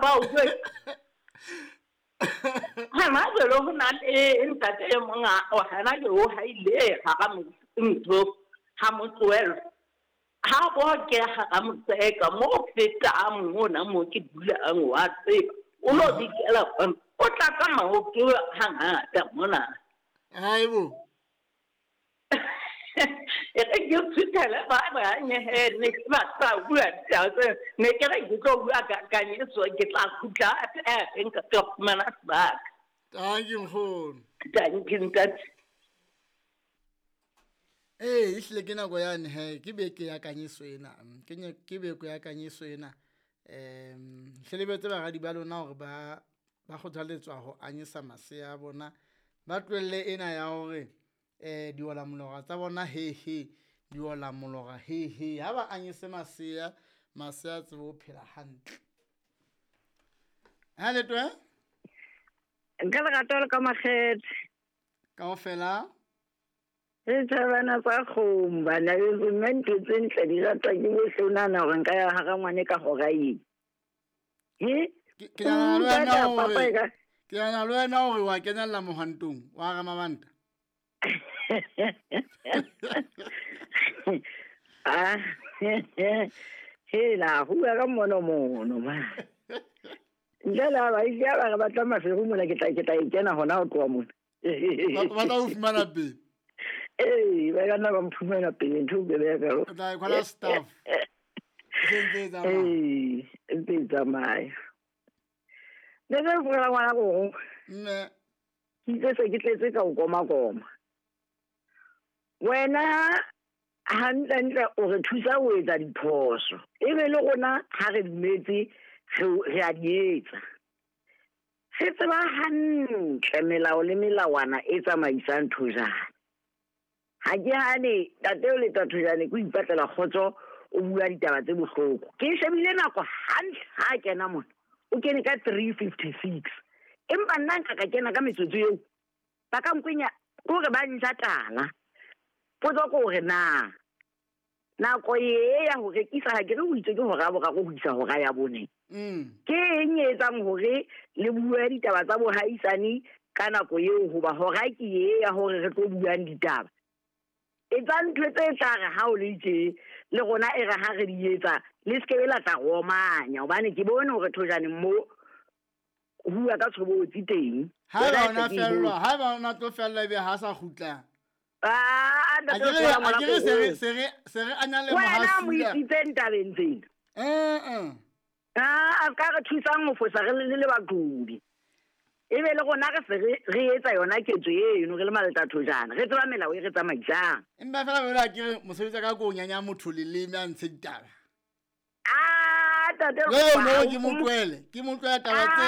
ba o jwetsa. Hana jwale ho na le ntate e mong hana ke o haile hara ntho ha motsoelo. Ha bo ke hara motseka mo fetang mona mo ke dulang wa tseba. O lo dikela o tla ka maoto hangata mona. Haibo. E re ke tshutele ba bang he ne ke ba tla bua tsa ne ke re ke tlo bua ka kanyeso ke tla khutla e nka ka fumana sebaka. Thank you nkgono. Thank you ntate. Ee, ehlile ke nako yane he ke beke ya kanyeso ena. Ke beke ya kanyeso ena. Hle lebetse baradi ba lona hore ba kgothaletswa ho anyesa masea a bona. Ba tlohelle ena ya hore diola molora tsa bona he he, diola molora he he. Ha ba anyese masea, masea a tsebe ho phela hantle. Ha letwe? Nka lerato le ka makgethe. Kaofela? Re thabana tsa kgomo bana beso, mme ntho tse ntle di ratwa ke bohle. O nahana hore nka ya hara ngwane ka hora eng? He? Ke nahana le wena hore wa kenella mohwantong wa Ramabanta. Ah, hela, ho bua ka mono mono ma. Ntle le ha ba ile ba re batla maferu mona, ke tla e kena hona ho tloha mona. Ba tla o fumana pele. Ee, ba ka nna ba mphumana pele, ntho e be ya ka. O tla e kwala staff. E ntse e tsamaya. Ee, e ntse e tsamaya. Ne ke fola ngwana go. Mme. Ke itse se ke tletse ka o koma koma. Wena hantle o re thusa ho etsa diphoso. Ebe le rona ha re dumetse re a di etsa. Re tseba hantle melao le melawana e tsamaisang Thojane. Ha ke hane tate o le Thojane ke ipatlela kgotso o bua ditaba tse bohloko. Ke shebile nako hantle ha kena mona. O kene ka 3:56. Empa nna nka ka kena ka metsotso eo. Ba ka nkwenya kore ba nja tala. Potso ke hore na nako e ya ho rekisa ha ke re o itse ke hora boraro ho isa hora ya bone. Ke eng e etsang hore le bue ditaba tsa bohaisane ka nako eo, hoba hora ke e ya hore re tlo buang ditaba. Etsa ntho tse tla re ha o le tje le rona e re ha re di etsa le se ke la tla romanya, hobane ke bone hore Thojane mo bua ka tshobotsi teng. Ha ba ona fellwa, ha ba ona tlo fella ebe ha sa kgutla. Ah, A ke re se re anya le wena mo mohasula. isitseng tabeng tsena. Eh. Ah, a ka re thusang ho fosa re le baqobi. Ebe le rona re se re etsa yona ketso eno re le maleta Thojane. Re tseba melao e re tsamaisang. Empa fela wena ke re mosebetsi ka ko nyanya motho leleme a ntshe ditaba. Ah, tate No, ke mo tlohele. Ke mo tlohela taba tse.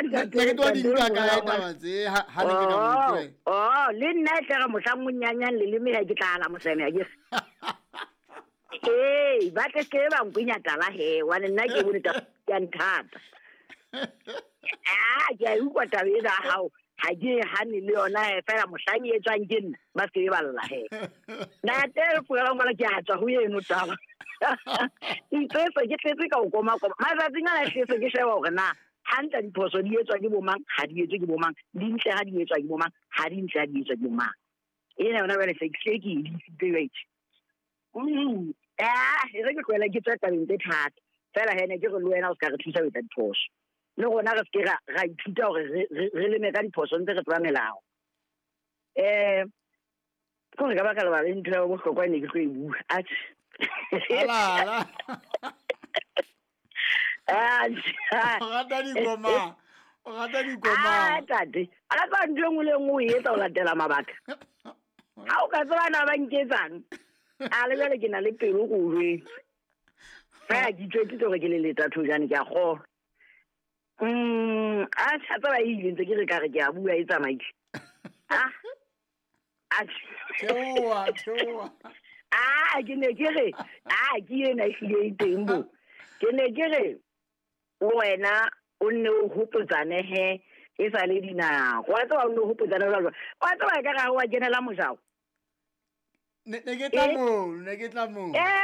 Ne ke tlo di utlwa kae taba tse ha ne ke ka mo tlohela. Oh, le nna e tle re mohlang o nyanyang leleme ha ke tla ala moseme ha ke. Ee, ba tle ke ba nkwenya tala he, wane nna ke bone taba ya nthata. Ah, ke a utlwa taba ena ya hao. Ha ke hane le yona he, fela mohlang e etswang ke nna, ba se ke ba lla he. Ntate re ngwana ke a tswa ho eno taba. Itse se ke tletse ka o koma koma. Matsatsing ana tletse ke sheba hore na hantle diphoso di etswa ke bomang, ha di etswe ke bomang, di ntle ha di etswa ke bomang, ha di ntle ha di etswa ke bomang. Ena yona jwale se ke e disitse jwale. Ah, e re ke tlohela ke tswa tabeng tse thata. Fela he ne ke re le wena o ska re thusa ho etsa diphoso. Le rona re se ke ra ithuta hore re leme ka diphoso ntse re tseba melao. Ke hore ka baka lebala ntho ya bohlokwa ne ke tlo e bua. Atjhe. Ala. Atjhe. O rata dikoma. O rata dikoma. Ah, tate. A ka ntho e nngwe le nngwe o e etsa ho latela mabaka. Ha o ka tseba na ba nketsang. A le jwale ke na le pelo ko o jwetse. Fela ke itjwetsitse hore ke le leta Thojane ke a kgolwa. Atjhe, a tseba e ile ntse ke re ka re ke a bua e tsamaile. Ah. Atjhe. Theoha. Ah, ke ne ke re, ah, ke ena ehlile e teng bo. Ke ne ke re wena o nne o hopotsane he e sa le dinako. Wa tseba o nne o hopotsane jwalo. Wa tseba ekare ha wa kenela mojao. Ne ke tla moo, ne ke tla moo.